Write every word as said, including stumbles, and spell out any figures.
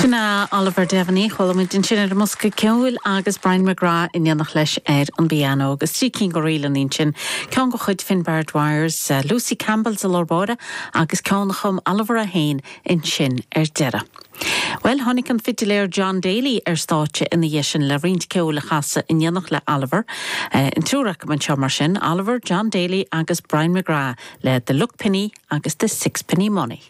Sin Oliver Devaney chuala muid ansin ar an mbosca ceoil agus Brian McGrath in éineacht leis ar an bpianó agus trí cinn de ríleanna sin ceann de chuid Finbar Dwyers, uh, Lucy Campbell sa lár agus ceann a chum Oliver é féin ansin ar deireadh. Well tháinig an fidiléir John Daly ar stáitse ina dhiaidh sin le roinnt ceoil a chasadh in éineacht le Oliver. Uh, an triúr acu anseo mar sin Oliver, John Daly agus Brian McGrath le The Luck Penny agus The Sixpenny Money.